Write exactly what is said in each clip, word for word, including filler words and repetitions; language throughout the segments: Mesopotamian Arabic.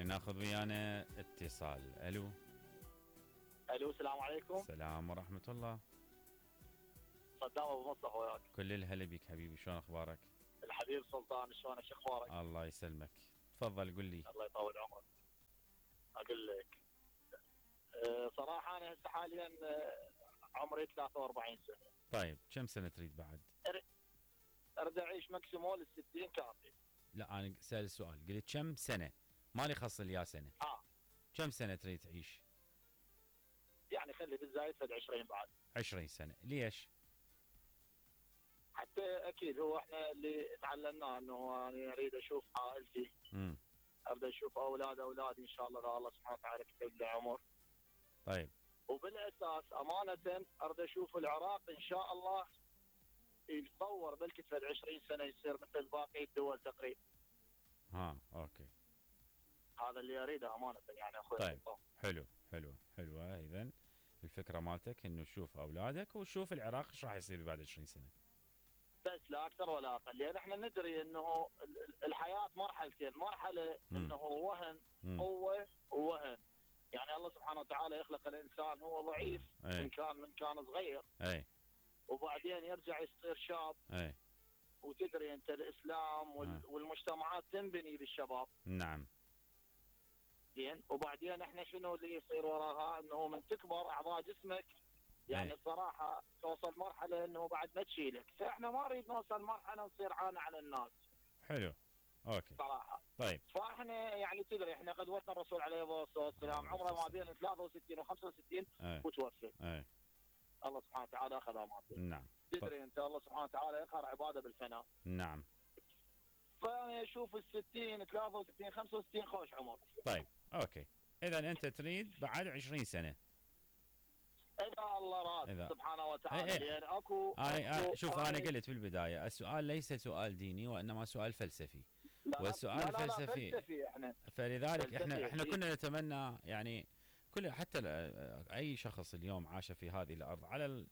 ناخذ ويانا اتصال. الو الو السلام عليكم. السلام ورحمة الله. صدام ابو مصطفى وياك. كل الهلا بك حبيبي، شلون اخبارك؟ الحبيب سلطان، شلونك؟ شو اخبارك؟ الله يسلمك، تفضل قل لي. الله يطول عمرك. اقول لك أه صراحه انا هسه حاليا أه عمري ثلاثة وأربعين سنه. طيب كم سنة تريد بعد؟ اريد اعيش ماكسيمول الستين كافي. لا انا سأل السؤال، قلت كم سنة، مالي خص لي يا سنة. اه كم سنة تريد تعيش؟ يعني خلي بالزايد فد عشرين بعد. عشرين سنة، ليش؟ حتى اكيد هو احنا اللي تعلمناه انه انا اريد اشوف عائلتي. امم اريد اشوف اولاد اولادي ان شاء الله، الله سبحانه وتعالى كتب لي عمر. طيب. وبالاساس امانه اريد اشوف العراق ان شاء الله يتطور بلكي فد عشرين سنه يصير مثل باقي الدول تقريبا. ها اوكي. هذا اللي اريده امانه يعني اخوي. طيب حلو حلو حلوه. اذا الفكره مالتك انه تشوف اولادك وتشوف العراق ايش راح يصير بعد عشرين سنه. بس لا اكثر ولا اقل، لان احنا ندري انه الحياه مرحلتين، مرحله انه وهن قوه ووهن. يعني الله سبحانه وتعالى يخلق الانسان هو ضعيف أي. من كان من كان صغير. اي. وبعدين يرجع يصير شاب. اي. وتدري انت الاسلام وال... والمجتمعات تنبني بالشباب. نعم. زين. وبعدين احنا شنو اللي يصير وراها؟ انه من تكبر اعضاء جسمك يعني الصراحه توصل مرحله انه بعد ما تشيلك، فاحنا ما نريد نوصل مرحله نصير عانى على الناس. حلو اوكي صراحه. طيب. فاحنا يعني تدري احنا قدوتنا الرسول عليه الصلاه والسلام عمره ما بين ثلاثة وستين وخمسة وستين وتوفى. اي. الله سبحانه وتعالى اخذ امانته. نعم. تدري انت الله سبحانه وتعالى يقهر عباده بالفناء. نعم. فانا اشوف الستين ثلاثة وستين خمسة وستين خوش عمر. طيب اوكي. اذا انت تريد بعد عشرين سنه. اذا الله راد سبحانه وتعالى. ايه. يعني اكو, أنا أكو شوف انا قلت في البدايه السؤال ليس سؤال ديني وانما سؤال فلسفي. لا والسؤال لا لا فلسفي. لا فلسفي احنا. فلذلك فلسفي احنا احنا كنا نتمنى يعني كل حتى اي شخص اليوم عاش في هذه الارض على ال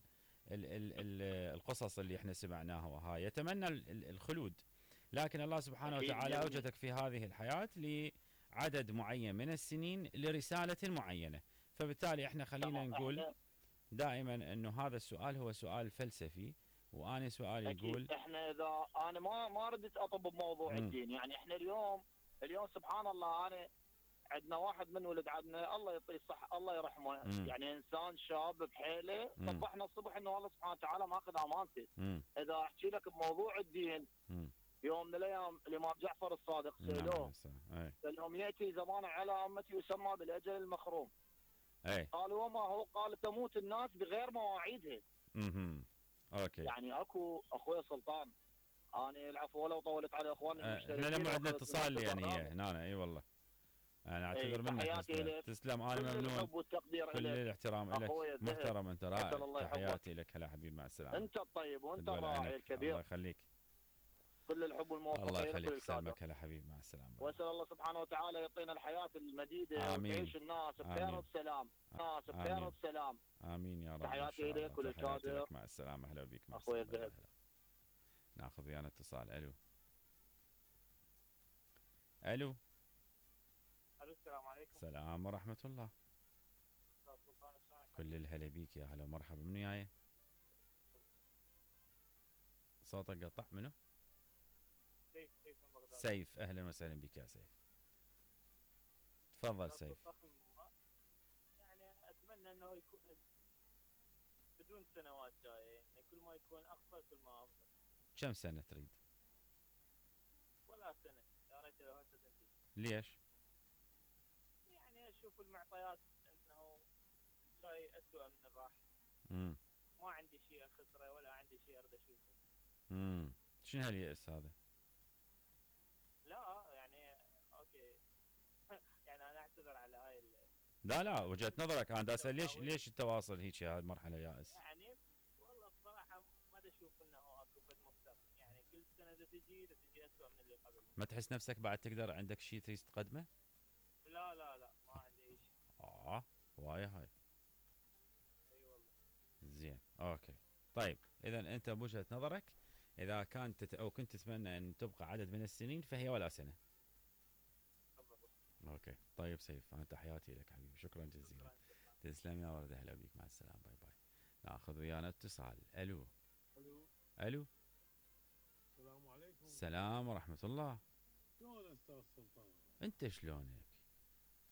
ال ال ال القصص اللي احنا سمعناها وهاي يتمنى الخلود، لكن الله سبحانه وتعالى اوجدك في هذه الحياه لعدد معين من السنين لرساله معينه، فبالتالي احنا خلينا نقول دائما انه هذا السؤال هو سؤال فلسفي، وانا سؤالي يقول احنا اذا انا ما ما ردت اطب بموضوع م. الدين، يعني احنا اليوم اليوم سبحان الله انا عندنا واحد من ولد عندنا الله يعطيه الصحه الله يرحمه، م. يعني انسان شاب بحيله صبحنا الصبح انه الله سبحانه وتعالى ماخذ امانته. م. اذا احكي لك بموضوع الدين م. يوم من الايام الامام جعفر الصادق سالوه قال لهم ياتي زمان على امتي يسمى بالاجل المخروم. اي. قالوا وما هو؟ قال تموت الناس بغير مواعيدها. اها اوكي. يعني اكو اخوي سلطان انا العفو ولو طولت على اخواننا المشتركين. احنا لما عندنا اتصال يعني هنا اي والله انا اعتذر منك. تسلم. انا ممنون. كل الاحترام لك، محترم انت، رائع. تحياتي لك. هلا حبيبي مع السلامه. انت الطيب وانت الراعي الكبير. الله يخليك. كل الحب والموفقيه. الله يخليك. سلامك. هلا حبيبي مع السلامه. واسال الله سبحانه وتعالى يعطينا الحياه المديده وتعيش الناس بخير وبسلام. الناس بخير وبسلام. امين يا رب. تحياتي لك وللكادر. مع السلامه. هلا بك. مع اخوي الذهب. ناخذ ويانا اتصال. الو الو الو السلام عليكم. السلام ورحمه الله. كل الهلا بيك يا هلا ومرحبا. من وياي؟ صوتك قطع. منو؟ سيف. سيف من بغداد. سيف. اهلا وسهلا بك يا سيف. تفضل سيف. يعني اتمنى انه يكون بدون سنوات جايه، يعني كل ما يكون اقصر كل ما افضل. كم سنه تريد؟ ولا سنه، يا ريت لو هسه تنتهي. ليش؟ يعني اشوف المعطيات انه شيء اسوء من الراحه. امم ما عندي شيء اخسره ولا عندي شيء اريد اشوفه. امم شنو هاليأس هذا؟ لا يعني اوكي يعني انا اعتذر على هاي ال... لا لا وجهة نظرك. انا دا اسال ليش ليش التواصل هيك هاي المرحله يائس؟ يعني والله بصراحه ما اشوف انه اكو بد مختلف، يعني كل سنه اذا تجي اذا تجي اسوء من اللي قبل. ما تحس نفسك بعد تقدر عندك شيء تريد تقدمه؟ لا لا لا ما عندي اي شيء. اه هوايه هاي. اي والله. زين اوكي. طيب اذا انت بوجهة نظرك اذا كانت او كنت تتمنى ان تبقى عدد من السنين فهي ولا سنه. اوكي طيب سيف، انا تحياتي لك حبيبي، شكرا جزيلا. تسلم يا ورده، هلا بيك، مع السلامه، باي باي. ناخذ ويانا اتصال. الو. الو. الو. السلام عليكم. السلام ورحمه الله. شلون استاذ سلطان؟ انت شلونك؟